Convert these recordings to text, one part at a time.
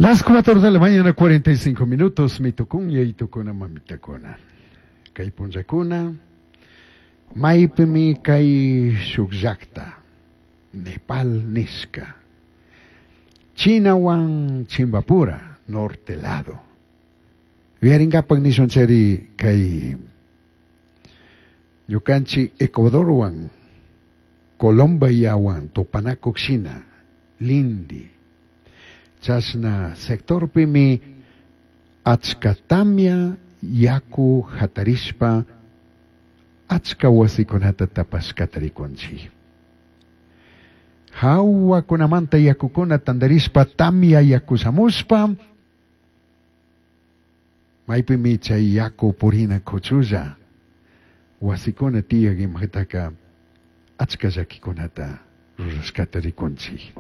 Las 4 de la mañana, 45 minutos, mitukun yaitukuna mamitakuna. Kay punllakuna, maypimi kay shuk llakta, Nepal nishka, Chinawan Chimbapura, norte lado. Yuyarinkapak nishunchari kay ñukanchik Ecuadorwan, Colombiawan tupanakuq shina, lindi. Chashna sectorpimi achka tamya yaku hatarishpa achka wasikunata tapashkata rikunchik. Hawakunamanta yakukuna tantarishpa tamya yaku shamushpa maypimi chay yaku purina kuchulla wasikuna tiyak imataka achka llakikunata rurashkata rikunchik.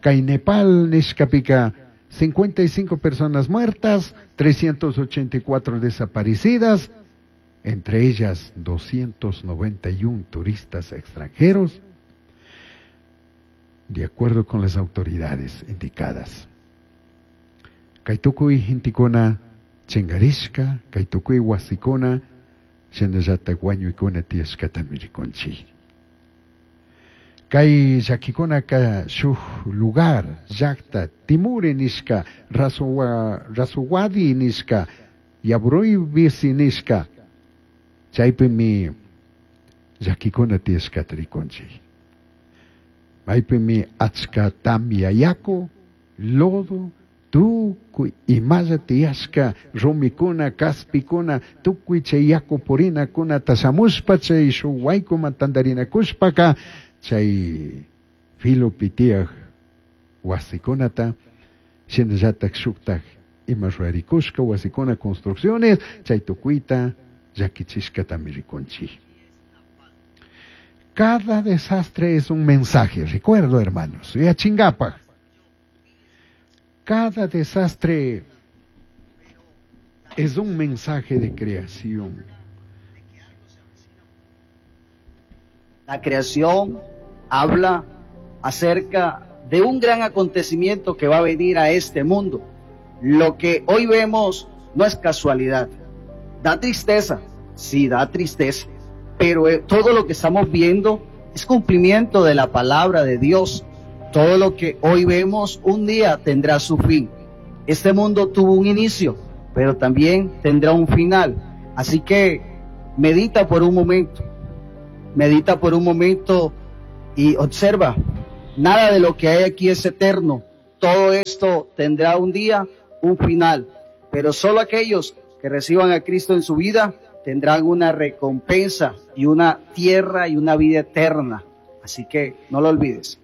Kay Nepal nishkapika 55 personas muertas, 384 desaparecidas, entre ellas 291 turistas extranjeros, de acuerdo con las autoridades indicadas. Kay tukuy gentekuna chinkarishka, kay tukuy wasikuna, shinallatak wañuykuna tiyashkatami rikunchik. Kay llakikunaka shuk lugar, llakta, Timure nishka, Rasuwadi nishka, Yabroybisi nishka, chaypimi llakikuna tiyashkata rikunchik. Maypimi achka tamya yaku, lodo, tukuy imalla tiyashka rumikuna, kaspikuna, tukuy chay yaku purinakuna shamushpa chay shuk waykuman tantarinakushpaka chay filopi tiyak wasikunata shinallatak shuktak ima rurarikushka wasikuna construcciones chay tukuyta llakichishkatami rikunchik. Cada desastre es un mensaje, recuerdo hermanos, yachinkapak. Cada desastre es un mensaje de creación. La creación habla acerca de un gran acontecimiento que va a venir a este mundo. Lo que hoy vemos no es casualidad. Da tristeza, sí, da tristeza, pero todo lo que estamos viendo es cumplimiento de la palabra de Dios. Todo lo que hoy vemos un día tendrá su fin. Este mundo tuvo un inicio, pero también tendrá un final. Así que medita por un momento, medita por un momento y observa. Nada de lo que hay aquí es eterno. Todo esto tendrá un día, un final. Pero solo aquellos que reciban a Cristo en su vida tendrán una recompensa y una tierra y una vida eterna. Así que no lo olvides.